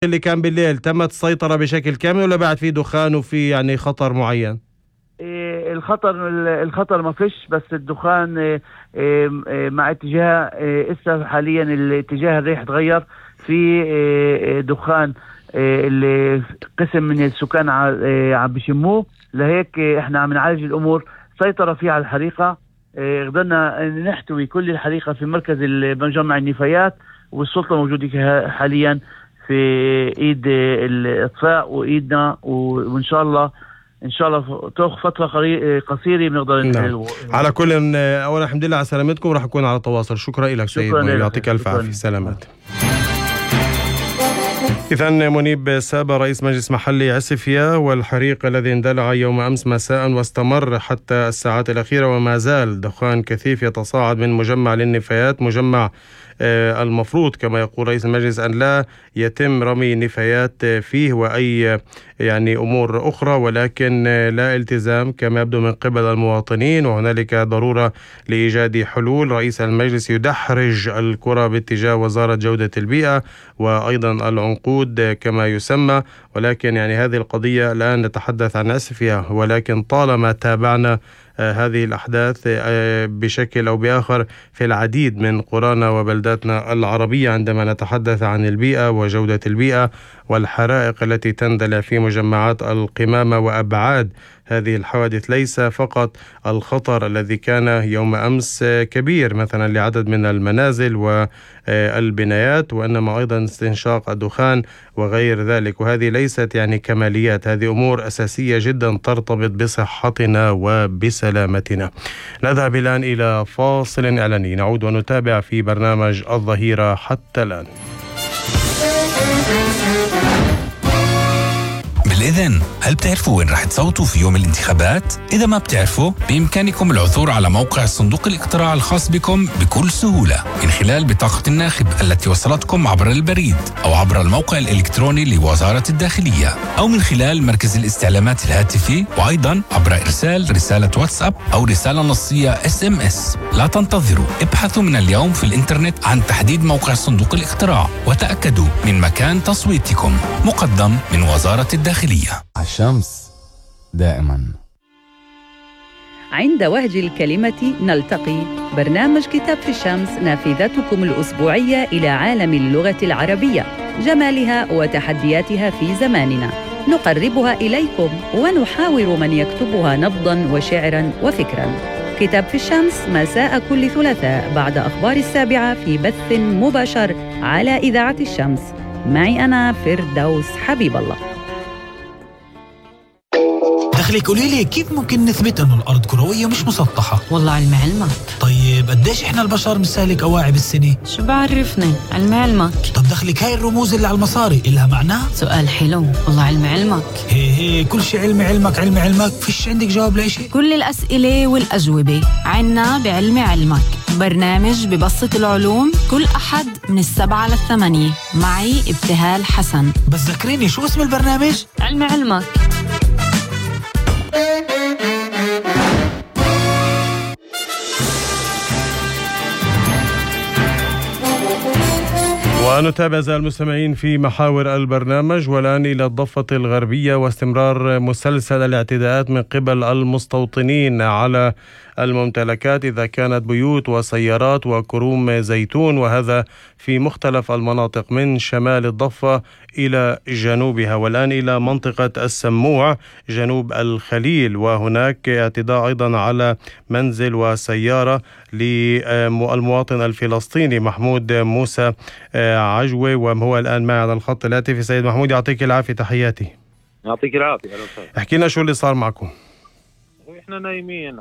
اللي كان بالليل تمت السيطرة بشكل كامل ولا بعد في دخان وفي يعني خطر معين؟ الخطر ما فيش، بس الدخان مع اتجاه إسا حاليا الاتجاه الريح تغير في دخان. اللي قسم من السكان عم بيشموه، لهيك احنا عم نعالج الامور. سيطرة فيها على الحريقة، قدرنا نحتوي كل الحريقة في مركز مجمع النفايات، والسلطة موجودة حاليا في ايد الاطفاء وايدنا، وان شاء الله تاخذ فترة قصيرة بنقدر نحل. على كل اولا الحمد لله على سلامتكم، وراح اكون على تواصل. شكرا لك سيد منيب، يعطيك الف عافية. سلامات. إذن منيب سابا رئيس مجلس محلي عسفية، والحريق الذي اندلع يوم أمس مساء واستمر حتى الساعات الأخيرة وما زال دخان كثيف يتصاعد من مجمع للنفايات، مجمع المفروض كما يقول رئيس المجلس أن لا يتم رمي نفايات فيه وأي يعني أمور أخرى، ولكن لا التزام كما يبدو من قبل المواطنين، وهنالك ضرورة لإيجاد حلول. رئيس المجلس يدحرج الكرة باتجاه وزارة جودة البيئة وأيضا العنقود كما يسمى، ولكن يعني هذه القضية الآن نتحدث عن عسفية، ولكن طالما تابعنا هذه الأحداث بشكل أو بآخر في العديد من قرانا وبلداتنا العربية عندما نتحدث عن البيئة وجودة البيئة والحرائق التي تندلع في مجمعات القمامة وأبعاد هذه الحوادث. ليس فقط الخطر الذي كان يوم أمس كبير مثلا لعدد من المنازل والبنايات، وإنما أيضا استنشاق الدخان وغير ذلك، وهذه ليست يعني كماليات، هذه أمور أساسية جدا ترتبط بصحتنا وبسلامتنا. نذهب الآن إلى فاصل إعلاني، نعود ونتابع في برنامج الظهيرة حتى الآن. بالإذن، هل بتعرفوا وين رح تصوتوا في يوم الانتخابات؟ إذا ما بتعرفوا، بإمكانكم العثور على موقع صندوق الاقتراع الخاص بكم بكل سهولة من خلال بطاقة الناخب التي وصلتكم عبر البريد أو عبر الموقع الإلكتروني لوزارة الداخلية، أو من خلال مركز الاستعلامات الهاتفي، وأيضا عبر إرسال رسالة واتساب أو رسالة نصية SMS. لا تنتظروا، ابحثوا من اليوم في الإنترنت عن تحديد موقع صندوق الاقتراع وتأكدوا من مكان تصويتكم. مقدم من وزارة الداخلية. الشمس دائما. عند وهج الكلمة نلتقي، برنامج كتاب في الشمس، نافذتكم الأسبوعية إلى عالم اللغة العربية، جمالها وتحدياتها في زماننا، نقربها إليكم ونحاور من يكتبها نبضاً وشعراً وفكراً. كتاب في الشمس مساء كل ثلاثاء بعد أخبار 7 في بث مباشر على إذاعة الشمس، معي أنا فردوس حبيب الله. دخلك قولي لي كيف ممكن نثبت انه الارض كرويه مش مسطحه؟ والله علم علمك. طيب قديش احنا البشر بنستهلك قواعد بالسنه؟ شو بعرفني، علم علمك. طب دخلك هاي الرموز اللي على المصاري إلها معنى؟ سؤال حلو، والله علم علمك. هي كل شيء علم علمك علم علمك، فيش عندك جواب لأشي؟ كل الأسئلة والأجوبة عنا بعلم علمك، برنامج ببسط العلوم كل أحد من 7 ل8 معي ابتهال حسن. بس ذكريني شو اسم البرنامج؟ علم علمك. ونتابع أعزائي المستمعين في محاور البرنامج، والآن إلى الضفة الغربية واستمرار مسلسل الاعتداءات من قبل المستوطنين على الممتلكات، إذا كانت بيوت وسيارات وكروم زيتون، وهذا في مختلف المناطق من شمال الضفة إلى جنوبها، والآن إلى منطقة السموع جنوب الخليل، وهناك اعتداء أيضا على منزل وسيارة للمواطن الفلسطيني محمود موسى عجوة، وهو الآن معي على الخط الهاتفي. سيد محمود يعطيك العافية، تحياتي. يعطيك العافية. احكي لنا شو اللي صار معكم. احنا نايمين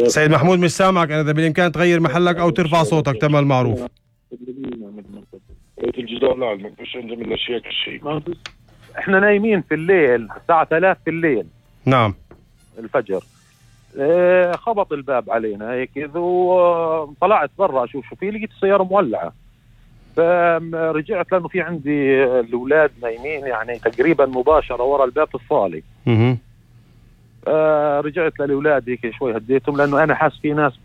سيد محمود مش سامعك أنا، إذا بالإمكان تغير محلك أو ترفع صوتك تم المعروف. الجدار لا ما فيش عندنا من الأشياء كل شيء. احنا نايمين في الليل الساعة 3 في الليل. نعم. الفجر خبط الباب علينا هيك، وطلعت برا اشوف شو في، لقيت السيارة مولعة، فرجعت لأنه في عندي الأولاد نايمين يعني تقريبا مباشرة ورا الباب في الصالة. رجعت للأولاد هيك شوي هديتهم، لأنه أنا حاس في ناس